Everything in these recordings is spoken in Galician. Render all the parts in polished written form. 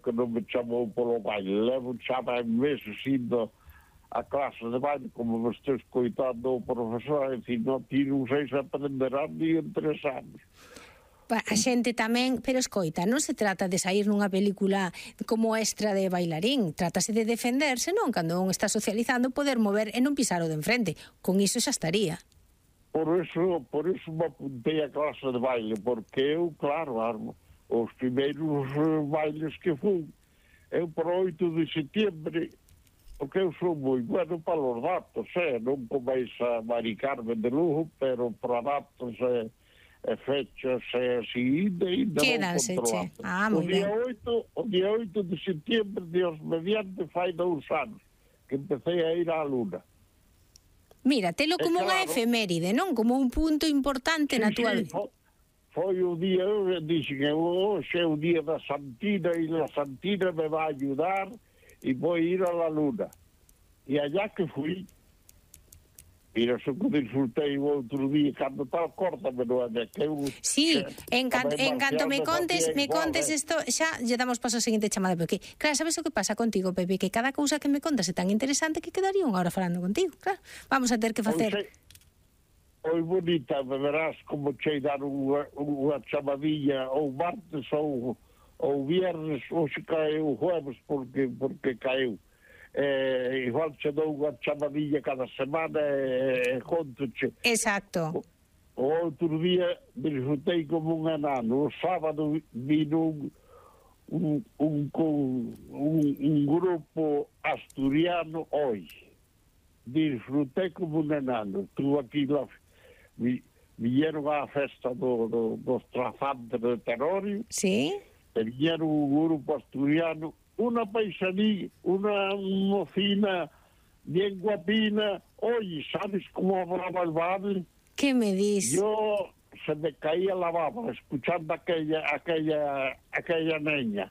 que non me chamou polo baile. Levo xa vai meses indo a clase de baile, como me estou escoitando o profesor, e dicir, non, ti non sei se aprenderán ni en 3 anos. A xente tamén, pero escoita, non se trata de sair nunha película como extra de bailarín, trátase de defenderse, non? Cando un está socializando, poder mover e non pisar o de enfrente. Con iso xa estaría. Por eso me apuntei a clase de baile, porque eu, claro, os primeiros bailes que fui, eu por 8 de setembro, porque eu sou moi bueno para os datos, non comeis a maricarme de lujo, pero para datos e fechas e así, ainda quédanse, che. O día 8 de setembro, Dios mediante, fai 2 anos, que empecé a ir á Luna. Mira, telo como unha efeméride, non? Como un punto importante na túa vida. Foi o día, eu dixen, hoxe é o día da Santina e a Santina me vai ayudar e vou ir a la Luna. E allá que fui, mira, só que disfrutei o outro día, cando tal, córtame, non é que eu... Sí, en canto me contes isto, xa lle damos paso ao seguinte chamada, porque, claro, sabes o que pasa contigo, Pepe, que cada cousa que me contas é tan interesante que quedaría unha hora falando contigo, claro. Vamos a ter que facer... Oi, bonita, me verás como chei dar unha chamadilla ou martes ou viernes, hoxe caeu o jueves porque caeu. Igual che dou unha chamadilla cada semana e contoche. Exacto. O outro día disfrutei como un enano. O sábado vino un grupo asturiano hoy. Disfrutei como un enano. Estuve aquí viñeron á festa dos trazantes de Terorio. Sí. E viñeron un grupo asturiano, una paisaní, una mocina bien guapina. Oye, ¿sabes cómo hablaba el baile? ¿Qué me dices? Yo se me caía la baba escuchando aquella niña.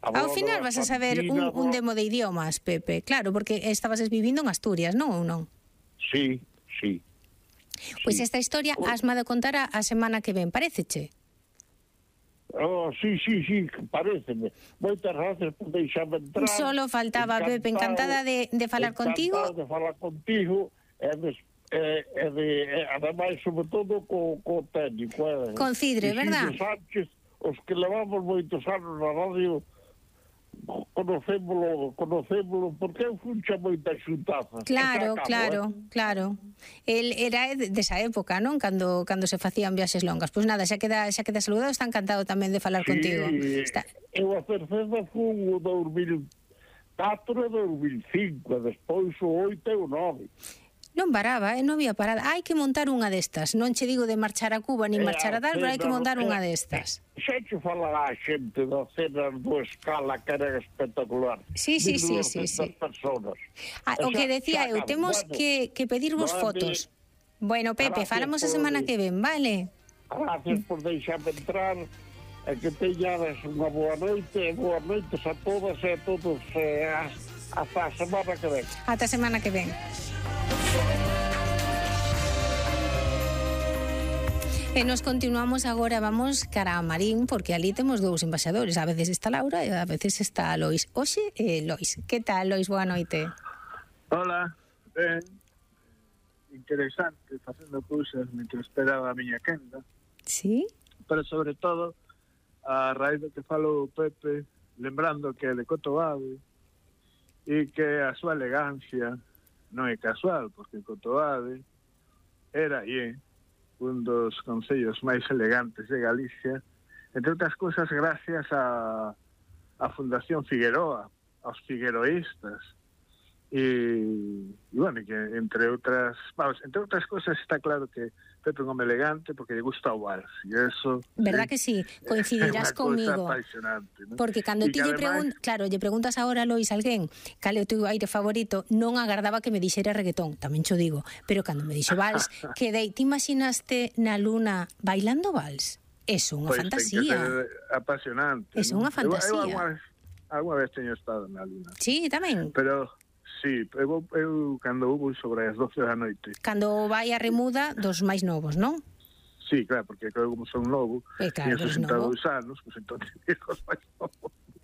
Ao final vas a saber un demo de idiomas, Pepe, claro, porque estabas vivindo en Asturias, non ou non? Sí. Pois esta historia asma de contar a semana que ven, paréceche? Sí, paréceme. Moitas gracias por deixarme entrar. Solo faltaba, Pepe, encantada de falar contigo. Encantada de falar contigo ademais, sobre todo, co técnico. Con Cidre, verdad? Sánchez, os que levamos moitos anos na radio, conocémolo, porque eu funcha moita xuntaza. Claro. El era desa época, non? Cando se facían viaxes longas. Pois nada, xa queda saludado, está encantado tamén de falar contigo. Eu a terceira fun o 2004 e 2005, despois o 8 e o 9. Non paraba, non había parada. Hai que montar unha destas. Non che digo de marchar a Cuba ni marchar a tal, pero hai que montar unha destas. Xa che falará a xente da cena do Escala, que era espectacular. Sí. Personas. O que decía eu, temos que pedirvos fotos. Bueno, Pepe, falamos a semana que ven, vale? Gracias por deixarme entrar e que teñades unha boa noite e boas noites a todas e a todos hasta a semana que ven. Ata a semana que ven. E nos continuamos agora, vamos cara a Marín, porque ali temos dous embaixadores, a veces está Laura e a veces está Lois. Oxe, Lois, que tal, Lois? Boa noite. Hola, ben, interesante, facendo cousas mentre esperaba a miña quenda. Sí? Pero sobre todo, a raíz do que falou Pepe, lembrando que é de Cotobade e que a súa elegancia non é casual, porque Cotobade era e é un dos concellos máis elegantes de Galicia, entre outras cousas gracias a Fundación Figueroa, aos figueroístas, e bueno, que entre outras cousas está claro que Pepe é un home elegante porque lle gusta o vals, e eso... Verdad que sí, coincidirás comigo, ¿no? Porque cando ti lle preguntas ahora, Lois, alguén cal é o teu aire favorito, non agardaba que me dixera reggaetón, tamén cho digo, pero cando me dixo vals, quedei, ti imaginaste na Luna bailando vals? É unha fantasía. Apasionante. É unha fantasía. Alguna vez teño estado na Luna. Sí, tamén. Pero... Sí, eu cando hubo sobre as 12 da noite. Cando vai a remuda dos máis novos, non? Sí, claro, porque eu como son novo, claro, teño 62 anos, pues entón os máis novos.